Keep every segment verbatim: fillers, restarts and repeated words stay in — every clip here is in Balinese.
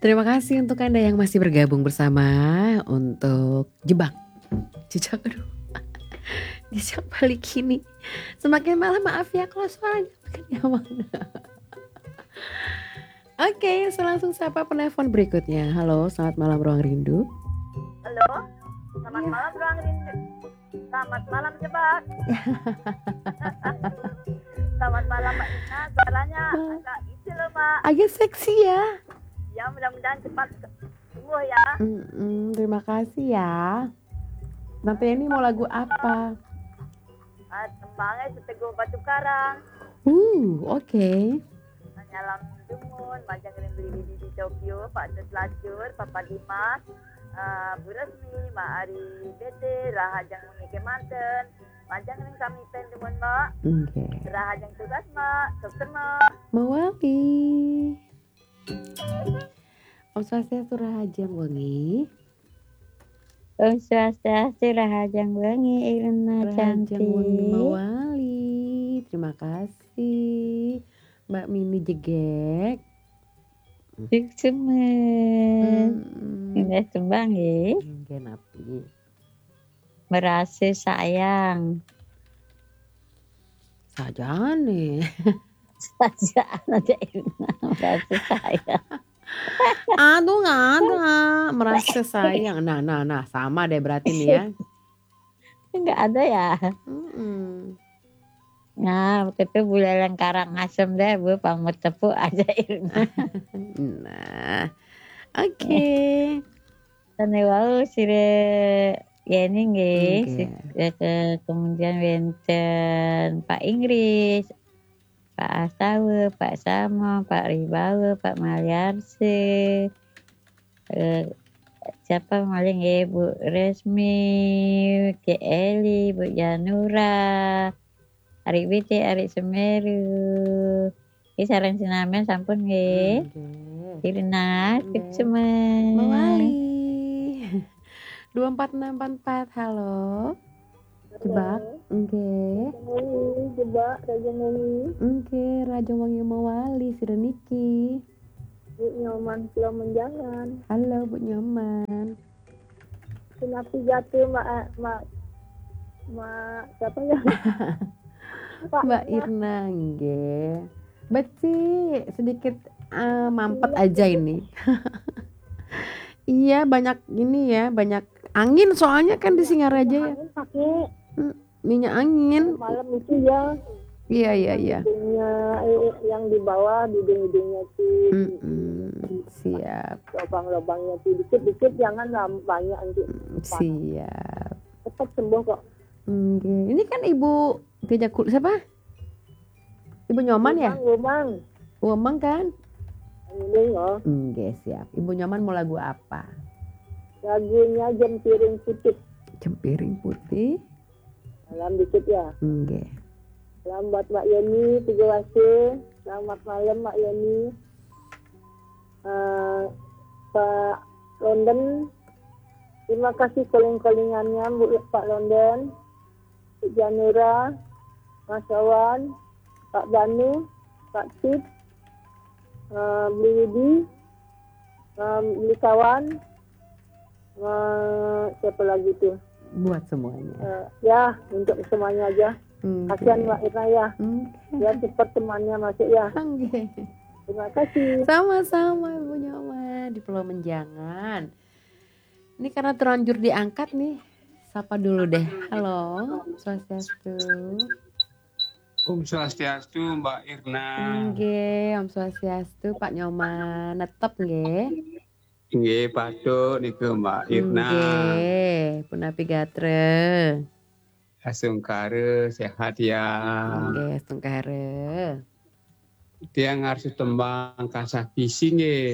Terima kasih untuk Anda yang masih bergabung bersama untuk Jebak. Jejak, aduh. Jejak balik ini. Semakin malam, maaf ya kalau suaranya makin nyaman. Oke, saya langsung sapa penelpon berikutnya. Halo, selamat malam Ruang Rindu. Halo, selamat Iya. malam Ruang Rindu. Selamat malam Jebak. Selamat malam Mbak Ina. Suaranya Wah. Agak isi loh Mbak. Agak seksi ya. Ya, mudah-mudahan cepat ke- sembuh ya. Mm-mm, terima kasih ya. Tante Yeni mau lagu apa? Ah, tembangnya Seteguh Batu Karang. Uh, oke. Nyalam Dumun, Majang Rindu di Tokyo, Pak Dut Lacur, Papa Dimas, ah, Bu Resmi, Mak Ari Bete, Rahajang Mengike Manten, Majang Ring Kami Pen Dumun Mbak, Oke. Rahajang Tugas Mbak, Dokter Mbak. Mawali. Om Swastiastu, Rahajeng Wengi. Om Swastiastu, Rahajeng Wengi, Irna Rahajeng cantik. Wengi Mawali. Terima kasih. Mbak Mini Jegek. Cik semen. Hmm. Indah tembang ya. Nggih napi. Merasa sayang. Sajane. Saja aja Irna. Merasa sayang. Aduh, nggak ada. Merasa sayang. Nah, nah, nah, sama deh berarti nih ya. Enggak ada ya. Mm-mm. Nah, waktu itu Buleleng Karangasem deh, Bu, pamut tepuk aja Irna. Nah. Oke. Tane wau sire Yeni nggih, Nggih. si- eh, ke- kemudian wenten Pak Inggris, Pak Astawa, Pak Samo, Pak Ribawa, Pak Maliarse, eh, siapa maling nggih, Bu Resmi, Ki Eli, Bu Janura, Arik Biti, Arik Semeru. Ini sarang sinamen sampun nggih. Nggih. Irna, Nggih. Cik semen. Mawali. Dua empat enam empat empat, halo. Jebak. Nggih. Wengi, Jebak, Rahajeng Wengi, Nggih, Rahajeng Wengi Mawali sira niki. Bu Nyoman Pulau Menjangan. Halo Bu Nyoman. Sinapi jatuh Mbak, Mbak, Mbak, siapa ya? Pak Mbak Ina. Irna, nggih. Beci, sedikit eh, mampet aja ini. Iya, banyak ini ya, banyak angin soalnya kan di Singaraja ya. Angin pakai Minyak angin. Malam itu ya, Iya, iya, iya. hidungnya, eh, yang di bawah, di hidung-hidungnya sih. Mm-mm, siap. Lubang-lubangnya sih dikit-dikit, jangan lam- banyak nanti. Mm, siap. Cepat sembuh kok. Nggih. Ini kan Ibu Gejakul siapa? Ibu Nyoman ya? Gomang, Gomang. Wemeng kan? Ini loh. Nggih, siap. Ibu Nyoman mau lagu apa? Lagunya Jempiring Putih. Jempiring putih. Malam dikit ya. Nggih. Salam buat Mbak Yeni, Tiga Wase. Selamat malam Mbak Yeni. Eh, Pak London, terima kasih calling-callingannya Bu, Pak London, Bu Janura, Mas Wawan, Pak Banu, Pak Cip, eh, Beli Widi, eh, Beli Kawan, eh, siapa lagi tuh? Buat semuanya. Eh, ya, untuk semuanya aja. Nggih. Kasihan Mbak Irna ya. Nggih. Ya, cepat temannya masuk ya. Nggih. Terima kasih. Sama-sama Ibu Nyoman di Pulau Menjangan. Ini karena terlanjur diangkat nih. Sapa dulu deh. Halo, Swastiastu. Om Swastiastu, Mbak Irna. Nggih, Om Swastiastu, Pak Nyoman. Netep nggih. Nggih, patut niku Mbak Irna. Nggih, punapi gatra. Astungkara sehat ya. Nggih, astungkara. Tiang harus tembang kasah kisi nggih.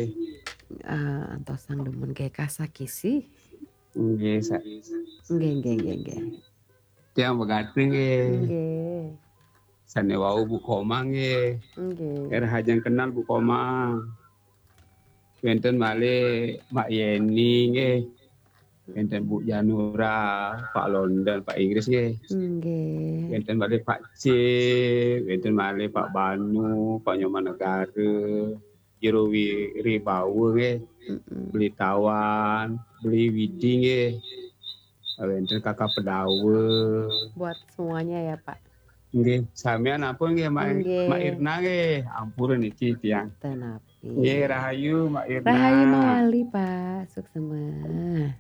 Ah, antosang demen ke kasah kisi. Nggih, sa- Nggih, nggih, nggih, nggih. Tiang begati nggih. Nggih. Sane wau Bu Komang nggih. Nggih. Rahajeng kenal Bu Komang. Wenten malih Mbak Yeni nggih. Wenten Bu Janura, Pak London, Pak Inggris nggih. Nggih. Wenten malih Pak C, wenten malih Pak Banu, Pak Nyoman Negara. jero wi-, ribawa nggih. Mm-mm. Beli tawan, beli widi nggih. Wénten kakak pedawa. Buat semuanya ya, Pak. Nggih, samian ampun nggih, Mak, Nggih. Mak Irna nggih. Ampun niki tiang. Tenapi. Nggih, rahayu Mak Irna. Rahayu mawali, Pak. Suksema.